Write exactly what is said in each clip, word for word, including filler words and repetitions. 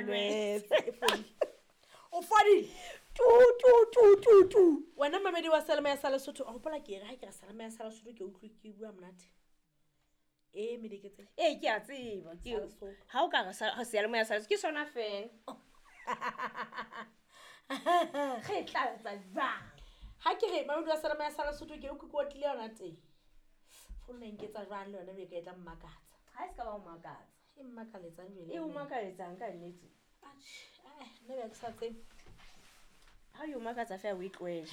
Malwetse. E fodile. O fodile. Tu tu tu tu tu. Wena mamedi wa Salema ya sa Lesotho, o hopola ke re ha ke re Salema ya sa Lesotho ke utlwe ke bua monate. E mediketse. Ee, ke a tseba. Ke Sa Lesotho. Ha o ka re sa seyalemoya sa Lesotho ke sona fela. Re tla etsa jwang? Ha ke re mamedi wa Salema ya sa Lesotho ke utlwe ke otlile yona teng. Founu e nketsa jwang le yona be ka e tla mmakatsa. Ha e se ka ba o makatsa. E mmakaletsang jwale. E o makaletsang ka nnete. Atjhe, eh, nna be ke sa tsebe. Ha o makatsa feela o e tlohele.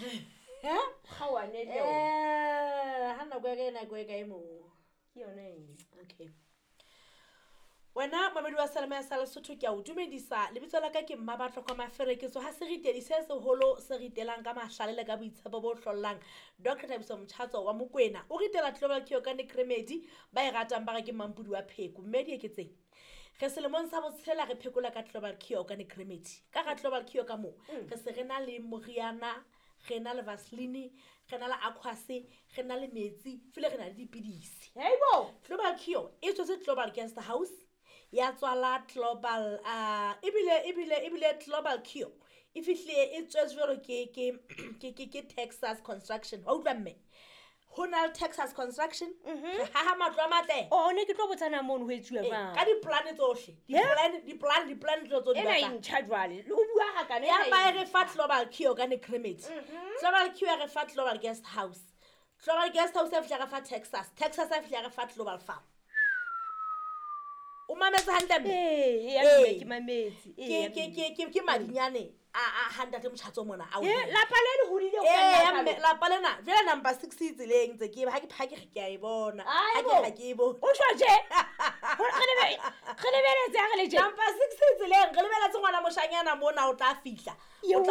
Ha? Kgaohane le yona. Eh, ha nako ya ka e nako e kae moo? Ke yona eng? Okay. Wena mamedi wa Salema ya sa Lesotho ke a o dumedisa. Lebitso la ka ke Mmabatlo kwa Mafereketso. Ha se ritedi se seholo se ritelang ka mahlale le ka boitshepo bo hlollang. Doctor Thabiso Motjhatso wa Mokwena o ritela Global Cure ka Necremedi ba e ratang ba re ke mampudi wa pheko. Mme di eketseng. Re selemong sa botshela re phekola ka Global Cure ka Necremedi. Ka ga Global Cure ka moo re se re na le moriana, re na le Vaseline, re na le Aquase, re na le metsi, file re na le dipidisi. Heibo! Global Cure e tswetse Global Guest House ya tswala Global, uh, ebile, ebile, ebile Global Cure e fihlile e tswetse jwalo ke, ke, ke, ke, ke Texas Construction. Wa utlwa mme? Ho na le Texas Construction, re haha matlo a matle. Oh, ne ke tlo botsana mono ho etsuwa Eh, jwang? ka di-plan tsohle. Di-plan, di-plan, di-plan tsohle tse o di Ena e batlang. ntjha jwale. Le ho bua ha kana Ya ena e ba e re fa Global Cure ka Necremedi. Global Cure ya re fa Global Guest House. Global Guest House ya fihla re fa Texas. Texas ya fihla re fa Global Farm. O mametse hantle mme? Ee, ya Ee. mme ke mametse. Ee, Ke, ya ke, mme. ke, ke, ke madinyane a, a ha ntate Motjhatso mona a o Eh, hira. lapa le le hodile ho Ee, ka nna ya mme, jwalo. lapa lena, jwale number six e tseleng ntse ke, ha ke, ha ke re ke a e bona. Ha ke Aibo. re ha ke e bone. O tjho tje? Ho- re lebe-, re lebeletse ha re le tje. Number six e tseleng, re lebeletse ngwana moshanyana mona o tla fihla. Yo O tla